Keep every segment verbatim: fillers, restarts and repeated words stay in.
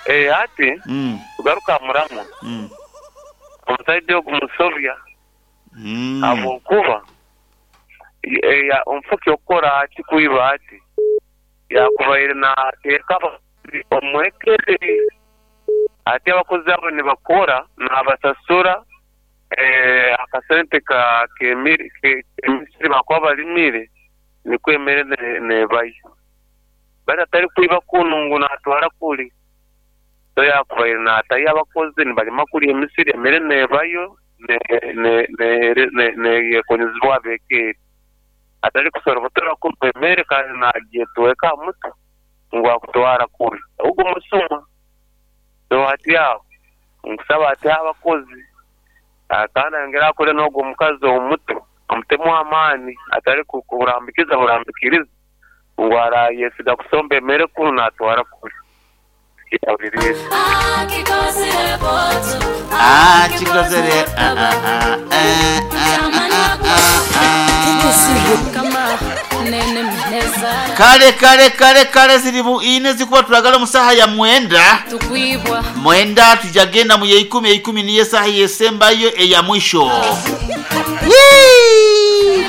Eh, ati Mm. tugaruka muramu Mm. omusaija ogu musobya Mm. habwokuba eh, ya- omufuki okukora ati kwiba ati yakubaire nateeka abakozi omwekere ati abakozi abo nibakora nabasasura eh, akasente ka kemiri ke- kemisiri bakuba balimire nikwo emere ne- nebayo bati atari kwiba kunu ngu natwara kuri so yakubaire natayo abakozi nibalima kuri emisiri emere nebayo neyekonyezibwa abekeeri atari kusorobotora kunu emere kandi nagyetweka aha mutwe ngu akutwara kuri ogwo musuma so hati aho nkusaba ati abakozi Ah, kandi ayongere akore n'ogwo omukazi omuto amutemu amaani atari ku- kurambikiza burambikiriza ngu arayesiga kusomba emere kunu natwara kuri yabulirize Ah, chikozere. Ah, ah, ah, eh, ah, ah, ah, ah. Kale kale kale kale ziri mu ine zikuba tulagala mu saha ya mwenda tukwibwa mwenda tujagenda mu yeikumi eikumi niyo saha yesembayo eya mwisho Yee!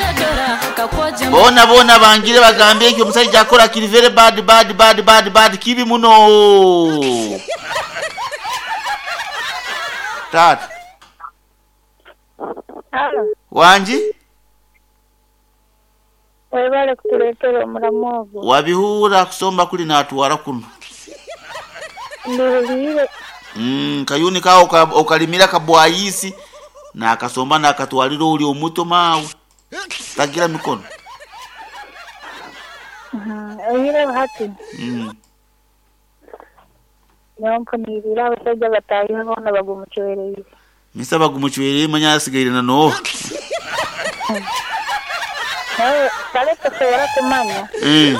kakwoja bona bona bangire bagambye nti omusajja akola kiri very bad bad bad bad bad kibi muno taata Halo, wangi webale kutuleetera omulamu ogwo. wabihuura kusomba kuli natwara kuno Mbihuliire Mm, kayuni kawo ka- okalimira kabwayisi nakasomba nakatwalira oli omuto maawe tagira mikono oyireho hati mm. niho mpuniirire abashaija bataahiwe boona bagumucwereire. misa bagumucwereye manya asigaire na nooha Nawe kale tosobora kumanya mm.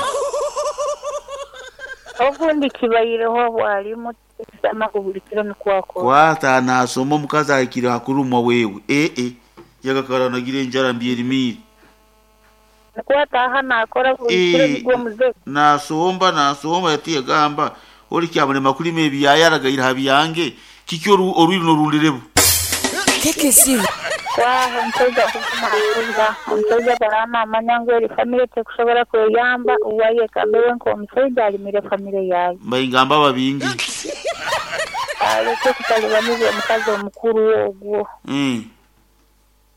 obundi kibaireho bwalimu tisama buli kiro nikwo akora. kwata nasoma omukazi ahikire hakurumwa wewe ee yagakara nagira enjara mbyerimire Nikwo ataaha naakora buli kiro Eh. nigwo muze. nasomba nasomba yati yagamba oli kyamulema kulima ebiyaya aragaire ha byange kiki oru- orwiri norundirebu Kwaha omushaija kuguma akuza omushaija baranamanya ngu eri famire tekusobora kweyamba uwayekambe we nk'omushaija alimire famire yaye. mbaingamba babingi Aleke kutalibaniza omukazi omukuru ogwo. mm.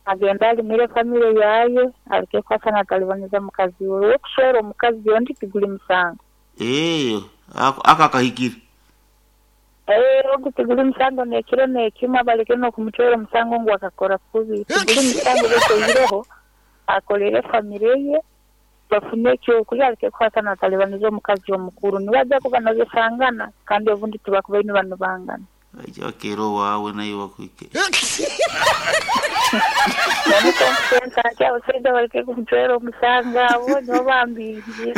Agenda alimire famire yaye aleke kwasa natalibaniza mukazi we okuswera omukazi ondi tiguli musango Eh, ako aka kahikire Eh, ogu tiguli musango nekiro nekimwe baleke n'okumucwera omusango ngu akakora kubi tiguli musango bekoireho akolere famire ye bafune ekyokurya aleke kwasa natalibaniza omukazi omukuru nibajja kuba nozesangana kandi obundi tibakubaine bano bangana aija bakera owawe naye bakwike nonsense ati abashaija baleke kumucwera omusango abo nibo bambingi.